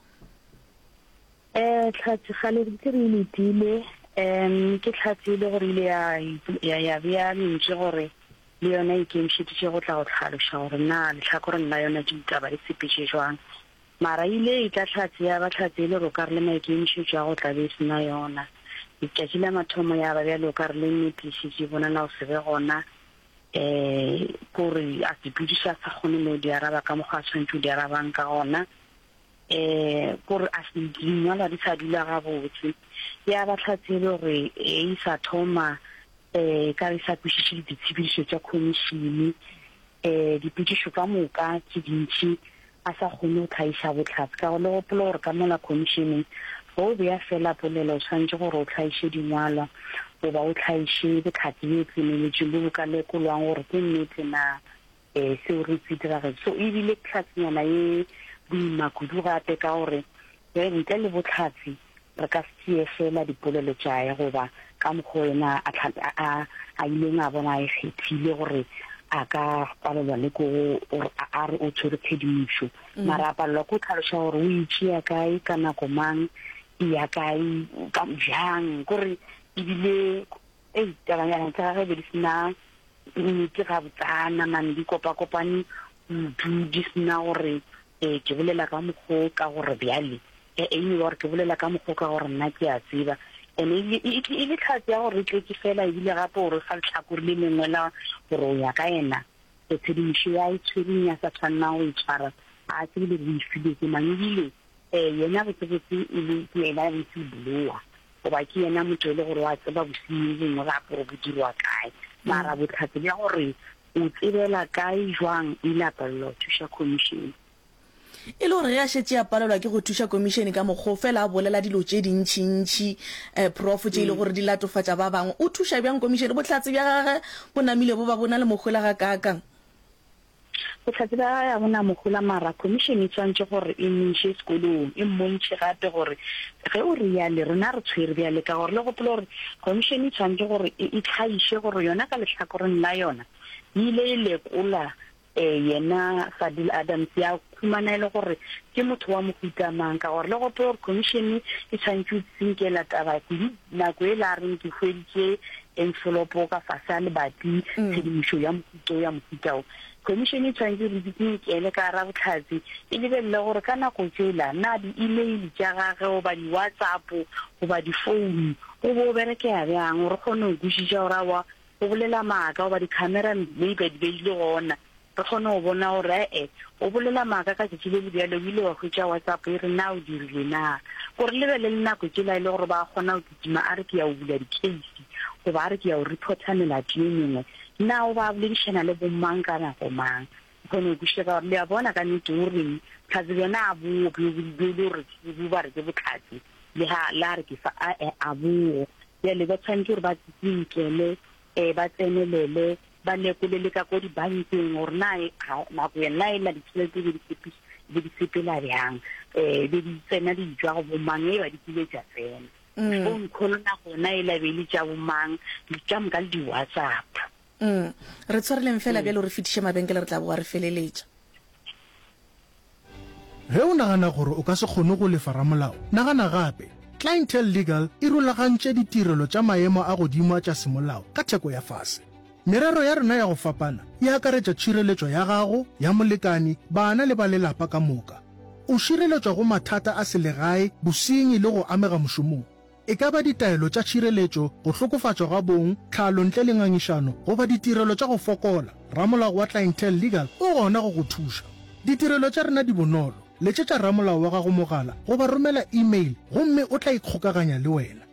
Eh, hlatse gale re ntse re e letile. Um, ke hlatse e le gore ile ya, ya, ya bea lentswe gore le yona e ikemišeditše go tla go hlaloša gore na lehlakoreng la yona ditaba di sepetše jwang. Mara ile e tla hlatse ya ba hlatse e le gore o ka re le maikemišetšo a go tla be e sena yona. Letšatši la mathomo ya ba bjalo o ka re le nnete e šetše e bonala go se be gona, eh, kore a sepediša a sa kgone le go di araba ka mokgwa a tshwanetše go di arabang ka gona. Eh, kore a se dingwalwa di sa dula gabotse. Ya ba hlatse e le gore e sa thoma, eh, ka re sa kwešiše ditshepedišo tša khomišene, eh, dipotšišo ka moka tše dintši a sa kgone go tlhaiša bohlatse. Ka go le gopola gore ka mola khomišeneng ge o bea fela polelo o tshwanetše gore o tlhaiše dingwalwa goba o tlhaiše bohlatse bjo tseneletšeng bo bo ka lekolwang gore ke nnete na, eh, seo re se diragetše. So ebile hlatsenyana ye boima kudu gape ka gore ge ntle le bohlatse re ka se tšee fela dipolelo tšae goba ka mokgwa yena a tlha-, a, a ileng a bona a e kgethile gore a ka palelwa le ko gore a, a re o tshwere tshedimošo. Mm. Mara a palelwa ke go tlhaloša gore o e tšea kae, ka nako mang, e ya kae, ka bjang, kore ebile, ei, tabanyana tsa gagwe be di sena nnete gabotsana, man, di kopakopane kudu, di sena gore, eh, ke bolela ka mokgwa ka gore bjale, eh, e no ba gore ke bolela ka mokgwa ka gore nna ke a tseba. Ene e le, e, e le tlhatse ya gore e tletše fela, ebile gape gore fa lehlakore le lengwe la gore o ya ka yena, e tshedimošo ya e tshwereng ya sa tshwanelang go e tshwara, a tsebe le gore o e filwe ke mang. Ebile, eh, yena botsebotse e le ke yena whistleblower, goba ke yena motho e le gore wa tseba bosenyi bongwe gape gore bo dirwa kae. Mara bohlatse bja gore o tsebela kae jwang, o ile a palelwa go thuša khomišene. E le gore ge a šetše a palelwa ke go thuša komišene ka mokgwa o fela a bolela dilo tše dintšintši, Prof, tše e le gore di latofatša ba bangwe, o thuša bjang komišene? Bohlatse bja gagwe bo namile bo ba bo na le mohola gakaakang? Bohlatse bja gagwe ga bo na mohola mara komišene e swanetše gore e mo iše sekolong, e mmontšhe gape gore ge o reale rena re tshwere bjale ka gore le gopole gore komišene e swanetše gore e e hlagiše gore yona ka lehlakoreng la yona e ile e lekola Yena Fadil Adams ya humana e le gore ke motho wa mohuta mang, ka gore le gopola gore khomišene e tshwanetše go tsinkela taba kudu nako yela a reng ke hweditše enfolopo ka fase ga lebati, tshedimošo ya mohuta o ya mohuta o. Khomišene e tshwanetše gore e tsinkele ka gara bohlatse, e lebelele gore ka nako tšela na di-email tša gage goba di-WhatsApp goba difounu go be go berekega bjang gore re kgone go kwešiša gore aowa go bolela maaka goba di-camera maybe di be di le gona, re kgone go bona gore e-e, o bolela maaka ka tšatši le le bjalo, o ile wa hwetša WhatsApp e re na o dirile na. Gore le be le le nako tšela e le gore ba kgona go kitima a re ke ya go bula di-case goba a re ke ya go reporter melato ye mengwe, na o ba a boledišana le bomang ka nako mang. Re kgone go kwešiša ka gore le a bona ka nnete o reng, bohlatse bjona a bo bjo bjo le gore bo ba re ke bohlatse le ha la re ke fa, a-e a bo. Bjale ba tshwanetše gore ba tsinkele e ba tsenelele, ba lekole le ka ko dibankeng gore na ga nako yena ela ditšhelete be di tshepiša be di sepela bjang, um be di tsena di tšwa go bomang, e ba di kile tša tsena. Phone call nako yona ela be e le tša bomang, ka moka le di-WhatsApp. Mm. Re tshwareleng fela bjalo re fetiše mabenkele re tla boa re feleletša. Ge o nagana gore o ka se kgone go lefa ramolao, nagana gape. Clientele Legal e rulagantše ditirelo tša maemo a godimo tša semolao ka theko ya fase. Merero ya rena ya go fapana e akaretša tšhireletšo ya gago, ya molekani, bana le ba lelapa ka moka. O šireletšwa go mathata a selegae, bosenyi le go amega mošomong. E ka ba ditaelo tša tšhireletšo, go hlokofatšwa ga bong, tlhalo ntle le ngangišano, goba ditirelo tša go fokola, ramolao wa Clientele Legal o gona go go thuša. Ditirelo tša rena di bonolo, letšetša ramolao wa gago mogala goba romela e-mail gomme o tla ikgokaganya le wena.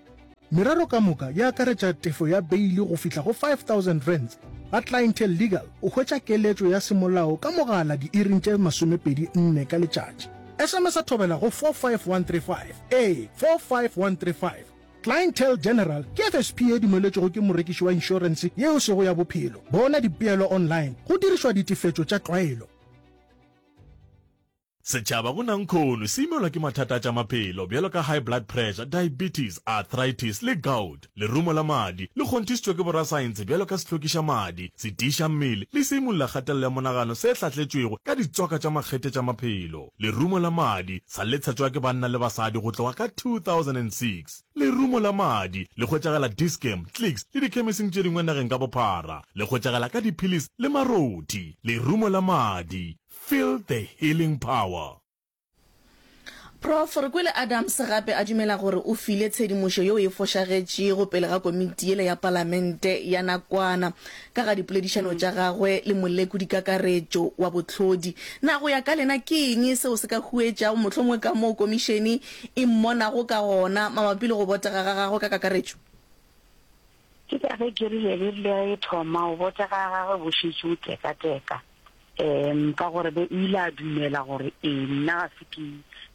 Merero ka moka e akaretša tefo ya beili go fihla go five thousand rands. Ga Clientele Legal o hwetša keletšo ya semolao ka mogala diiring tše masomepedi nne ka letšatši. S M S a thobela go four five one three five, ee, four five one three five. Clientele General ke F S P ye dumeletšwego ke morekiši wa inšorense ye e sego ya bophelo. Bona dipeelo online go dirišwa ditefetšo tša tlwaelo. Setšhaba go nankhono se imelwa ke mathata a tša maphelo bjalo ka high blood pressure, diabetes, arthritis le gout. Lerumo la madi le kgonthišitšwe ke borasaense bjalo ka sehlokiša madi, setiiša mmele le seimolla kgatelelo ya monagano se hlahletšwego ka ditswaka tša makgethe tša maphelo. Lerumo la madi sa le tshetšwa ke banna le basadi go tloga ka two thousand and six Lerumo la madi le hwetšagala Dis-Chem, Clicks le dikhemising tše dingwe nageng ka bophara. Le hwetšagala ka diphilisi le marothi. Lerumo la madi. Feel the healing power. Prof. Re kwele Adams gape a dumela gore o file tshedimošo yeo e fošagetšego pele ga komiti yela ya palamente ya nakwana ka ga dipoledišano tša gagwe le molekodikakaretšo wa bohlodi. Na go ya ka lena ke eng seo se ka huetšago mohlomongwe kamoo komišene e mmonago ka gona mabapi le go botega ga gagwe ka kakaretšo? Ke ka ge ke rile be rile e thoma, go botega ga gagwe bo šetše bo tekateka. Um ka gore be o ile a dumela gore ee nna ga se ke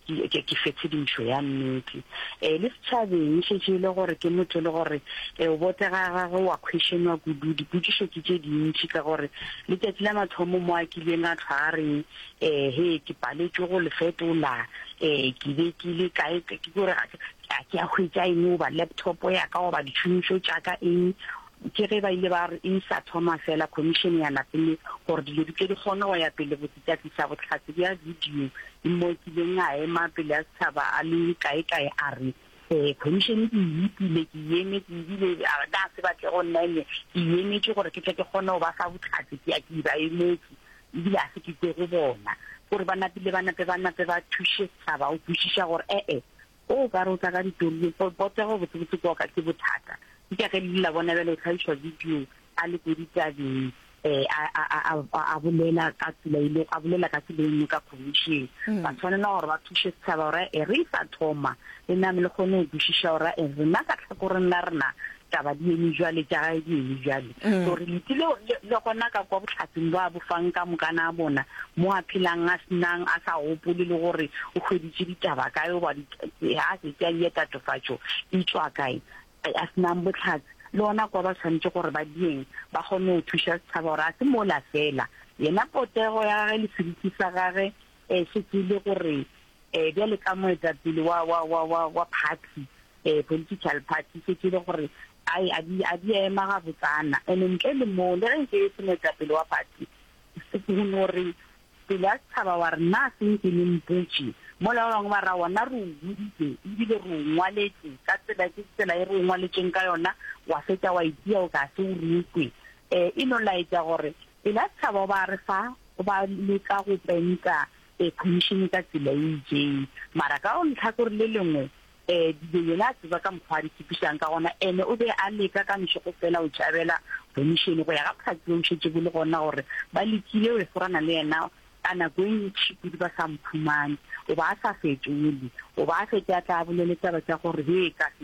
ke ke ke fe tshedimošo ya nnete. Um le setšhabeng e šetše e le gore ke motho e le gore um o botega ga gagwe wa questionwa kudu, dipotšišo ke tše dintši ka gore letšatši la mathomo mo a kileng a hlwa a re um he ke paletšwe go le fetola um ke be ke le kae ke gore ga ke a hwetša eng goba laptop ya ka goba ditšhomišo tša ka eng. Ke ge ba ile ba re e sa thoma fela khomišene ya napele gore dilo di tle di kgone go ya pele botse tša tlisa bohlatse bja video mo kileng a ema pele a setšhaba a le kae-kae a re eh khomišene ke e ipile ke e emetše ebile a na se batle go nna ene ke e emetše gore ke tle ke kgone go ba fa bohlatse ke ya ke ba emetše ebile a se ke kwe go bona gore ba napile ba nape ba nape ba thuše setšhaba go kwešiša gore e-e O ka re o tla ka ditori, potego botsebotse kwa ka ke bothata. Ke ka ge le la bona bjale o hlagišwa video a le ko ditabeng eh a a a a a bolela ka tsela e le a bolela ka tsela e nngwe ka commission. Ba tshwanela gore ba thuše setšhaba gore e re sa thoma le name le kgone go kwešiša gore e rena ka tlhakoreng la rena taba di eme jwale, tša gae di eme jwale. Mm. So re letile le, le gona ka kwa bohlatseng bjo a bo fang ka mokana a bona, mo a phelang a senang, a sa gopole le gore o hweditše ditaba kae goba di, a se tšea ye tatofatšo e tšwa kae, a senang bohlatse. Le gona kwa ba swanetše gore ba dieng ba kgone go thuša setšhaba gore a se mola fela. Yena potego ya gage le seriti sa gage e šetše e le gore um bjale ka moetapele wa, wa, wa, wa, wa party, um political party, šetše e le gore ai, a di, a di ema gabotsana. Ene ntle le moo, le ge nke e se moetapele wa party, go no re pele a setšhaba wa re na se nke le mpotše, mola ba bangwe ba ra wona re o boditše ebile re o ngwaletše ka tsela, ke tsela e re o ngwaletšeng ka yona, wa fetša wa itia o ka se o re kwe. Um e no laetša gore pele a setšhaba o ba re fa, o ba leka go penta um commission ka tsela e itšeng. Mara ka go lehlakore le lengwe um dilo yena a tseba ka mokgwa a di tshepišang ka gona, ene o be a leka ka mešego fela go tšhabela commission go ya ga bohlatse bjo bo šetše bo le gona gore ba lekile go forana le yena ka nako e ntši kudu ba sa mphumane. O ba a sa fetole, o ba a fetše a tla a bolele taba tša gore he ka se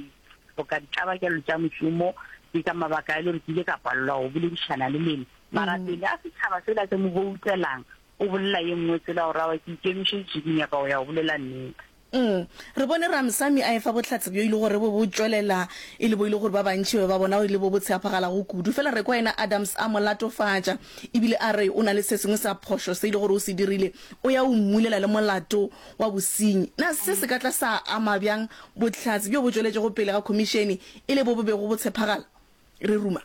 hloka ditlabakelo tša mošomo, ke ka mabaka a e le gore ke ile ka palelwa go boledišana le lena. Mara pele a setšhaba sela se mo boutelang, o bolela ye nngwe tsela gore aowa ke ikemišeditše ke nyaka go ya go bolela nnete. Mm. Re bone Ramsamy a efa bohlatse bjo e le gore bo bo tšwelela e le bo e le gore ba bantši ba be ba bona e le bo bo tsheaphagalago kudu. Fela re kwa yena Adams a mo latofatša ebile a re o na le se sengwe sa phošo se e le gore o se dirile, o ya o mmulela le molato wa bosenyi. Na se se ka tla sa ama bjang bohlatse bjo bo tšweletšego pele ga khomišene e le bo bo bego bo tshephagala? Re ruma.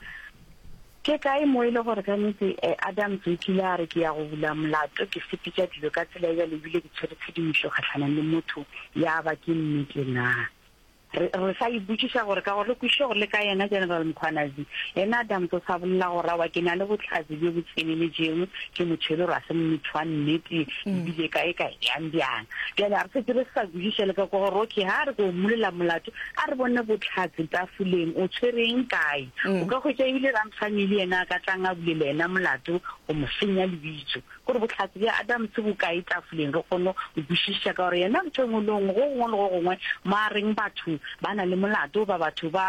Ke kae mo e le gore ka nnete Adams o kile a re ke ya go bula molato, ke sepetša dilo ka tsela e bjalo ebile ke tshwere tshedimošo kgahlanong le motho ya ba ke nnete na? Re, re sa ipotšiša gore ka gore re kwešiše gore le ka yena General Mkhwanazi, yena Adams o sa bolela gore aowa ke na le bohlatse bjo bo tseneletšego, ke motho e le gore ga se motho wa nnete ebile kae kae bjang bjang. Bjale a re šetše re sa kwešiša le ka kwa gore okay ha re ko mmulela molato a re bone bohlatse tafoleng, o tshwereng kae? O ka hwetša ebile Ramsamy le yena a ka tlang a bulela yena molato go mo senya lebitso. Gore bohlatse bja Adams bo kae tafoleng re kgone go kwešiša ka gore yena ntho e nngwe le nngwe, go gongwe le go gongwe mo a reng batho ba na le molato goba batho ba